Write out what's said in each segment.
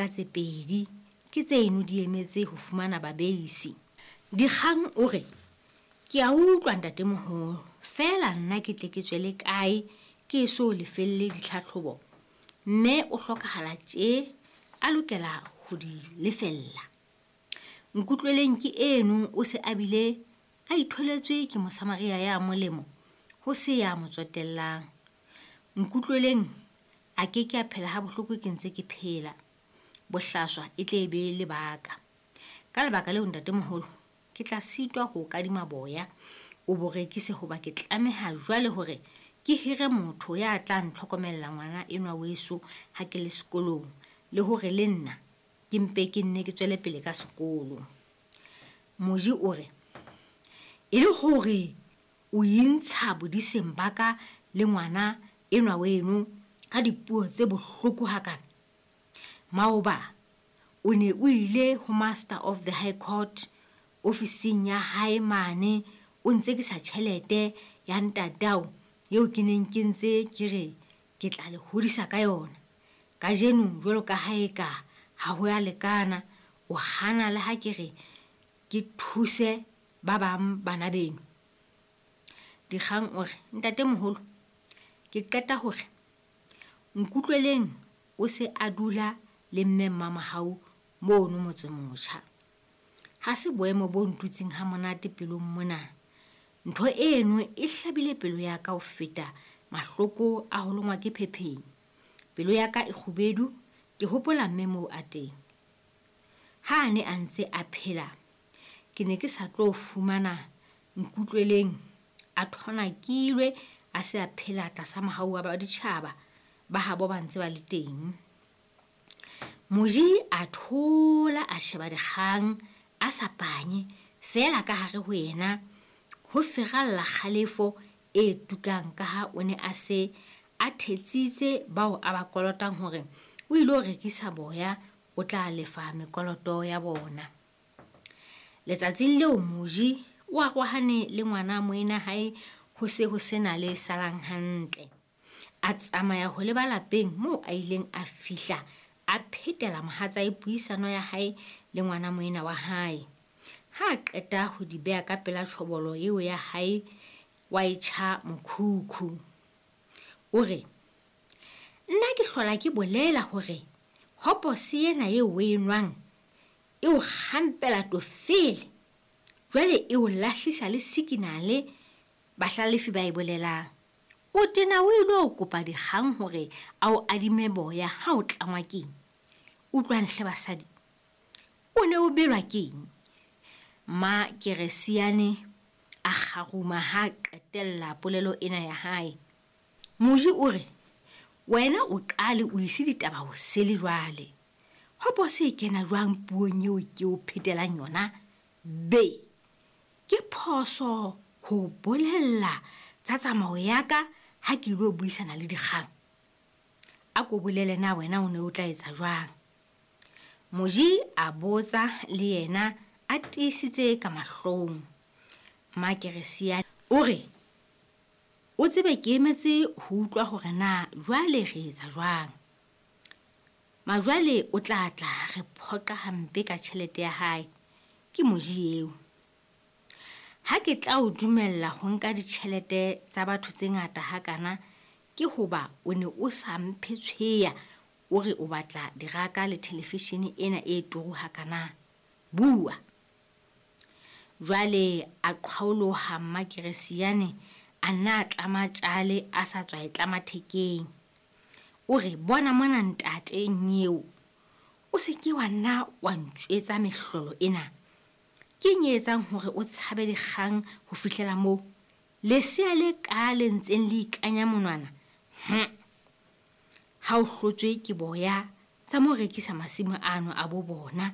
Tse pedi ke tseno di emetse ho fumana babeisi. Dikgang o re, Ke a utlwa ntatemoholo, feela nna ke tle ke tswele kae ke eso lefelle ditlhatlhobo? Mme o hlokahala tje a lokela ho di lefella. Nkutlweleng ke eno o se a bile a itholetswe ke Mosamaria ya molemo ho se ya mo tsotellang. Nkutlweleng a ke ke a phela habohloko ke ntse ke phela. Bohlaswa e tle be lebaka. Ka lebaka leo ntatemoholo, ke tla sitwa ho o kadima boya o bo rekise hoba ke tlameha jwale hore ke hire motho ya tla ntlhokomella ngwana enwa weso ha ke le sekolong le hore le nna ke mpe ke nne ke tswele pele ka sekolo. Moji o re, E le hore o intsha bodiseng ba ka le ngwana enwa weno ka dipuo tse bohloko hakana? Maoba o ne o ile ho Master of the High Court ofising ya hae mane o ntsekisa tjhelete ya ntatao eo ke neng ke ntse ke re ke tla le hodisa ka yona. Kajeno jwalo ka ha eka ha ho a lekana, o hana le ha ke re ke thuse ba bang bana beno. Dikgang o re, Ntatemoholo, ke qeta hore Nkutlweleng o se a dula le Mme Mmamohau mono Motsemotjha. Ha se boemo bo ntutseng hamonate pelong mona. Ntho eno e hlabile pelo ya ka ho feta mahloko a ho longwa ke phepheng. Pelo ya ka e kgubedu ke hopola mme moo a teng. Ha a ne a ntse a phela, ke ne ke sa tlo fumana Nkutlweleng a thonakilwe a se a phela tlasa mohau wa baditjhaba ba habo ba ntse ba le teng. Moji a thola a sheba dikgang a sa panye, feela ka hare ho yena ho feralla kgalefo e tukang kaha o ne a se a thetsitse bao a ba kolotang hore o ilo rekisa boya o tla lefa mekoloto ya bona. Letsatsing leo Moji o arohane le ngwana moena hae ho se ho sena le salang hantle. A tsamaya ho leba lapeng moo a ileng a fihla a phetela mohatsae puisano ya hae le ngwana moena wa hae. Ha a qeta ho di beha ka pela tjhobolo eo ya hae wa e tjha mokhukhu. O re, Nna ke hlola ke bolela hore hopose ena eo o e nwang e o kgampela tofele, jwale e o lahlisa le sikinale bahlalefi ba e bolelang. O tena o ilo kopa dikgang hore a o adime boya ha o tlangwa keng? Utlwang hle basadi, o ne o belwa keng? Mma Keresiane a kgaruma ha a qetella polelo ena ya hae. Moji o re, Wena o qale o ise ditaba hosele jwale. Hopose e kena jwang puong eo ke o phetelang yona? Be! Ke phoso ho o bolella tsa tsamao ya ka ha ke ilo buisana le dikgang. A ko bolele na wena o ne o tla etsa jwang? Moji a botsa le yena a tiisitse ka mahlong. Mmakeresiane o re, O tsebe ke emetse ho utlwa hore na jwale re etsa jwang. Majwale o tla tla re phoqa hampe ka tjhelete ya hae. Ke Moji eo. Ha ke tla o dumella ho nka ditjhelete tsa batho tse ngata hakana ke hoba o ne o sa mphe tshweya o re o batla diraka le thelefishene ena e turu hakana. Bua! Jwale a qhwaoloha Mmakeresiyane a nna a tlama tjale a sa tswa e tlama thekeng. O re, Bona mona ntate Nnyeo, o se ke wa nna wa ntjwetsa mehlolo ena. Keng e etsang hore o tshabe dikgang ho fihlela moo? Lesea le ka le ntseng le ikanya monwana, hum! Ha o hlotswe ke boya, tsa mo rekisa masimo ano a bo bona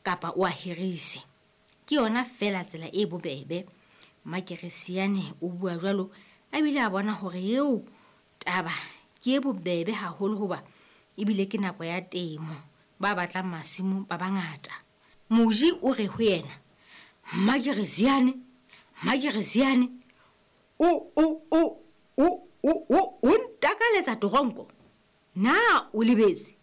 kapa o a hirise. Ke yona feela tsela e bobebe. Mmakeresiane o bua jwalo a bile a bona hore eo Taba ke e bobebe haholo hoba ebile ke nako ya temo, ba batlang masimo ba bangata. Moji o re ho yena, Mmakereziane, Mmakereziane, o, o, o, o, o, o, o ntakaletsa toronko? Na o lebetse?